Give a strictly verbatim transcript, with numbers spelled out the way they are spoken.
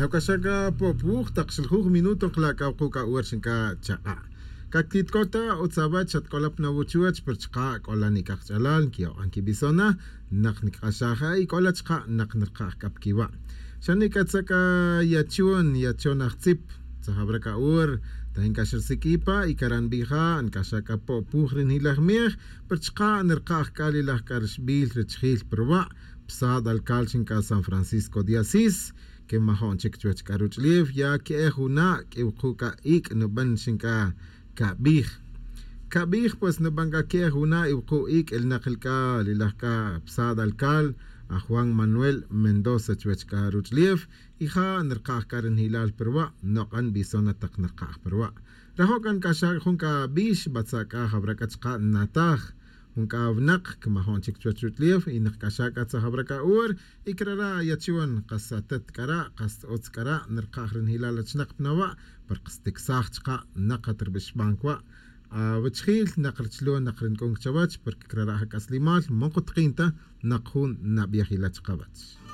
Awc'axa c'a po'puj tak xiljuj minuto nkala' c'a wuku' c'a ora xin c'a chak'a'. Cactitc'o ta utz awech xatc'ola pa nawuchuwech pero chaka' c'ola nic'aj ch'alal nquiyok'an quibisona. Nak nicak'axaj a y c'ola chaka' nak nirkaj c'a pa quiwa'. Xa nic'atza c'a yachon yachon ajtzip. Tzajawra c'a ora ta inc'ax risiq'ui pa y cara' nbija' nic'axa c'a po'puj ri nijilaj miej. Pero chaka' nirkaj c'a li laj c'a rixbil richijil pa ruwa'. Psad alcal xin c'a san francisco de asís. Que majo'n chic chuwech c'a ruch'ulef ya que'ej wuna' q'uiwuku' c'a ic' nuban xin c'a cabij. Cabij pues nuban c'a que'ej wuna' iwuku' ic' ilinak li c'a li laj c'a psad alcal. Aj juan manuel mendoza chuwech c'a ruch'ulef y ja' nirkaj c'a ri nijilal pa ruwa'. Nok'an bison na tak nirkaj pa ruwa'. Rajo' c'a nic'axa jun c'a bix batza' c'a jawra c'a chaka' nnataj. Jun c'a winak camajon chic chuwech ruch'ulef y nakc'axa c'a tzajawra c'a ora. Y crara' yachon kas atet c'ara' kas utz c'ara' nirkaj ri nijilal achinak pa nawa'. Porque sticsaj chaka' nak at ri bixban cwa' awichijil nak richilon nak ri nic'un c'a chawech porque crara' ja c'aslimal man kutakin ta. Nak jun nabij ila chakawech.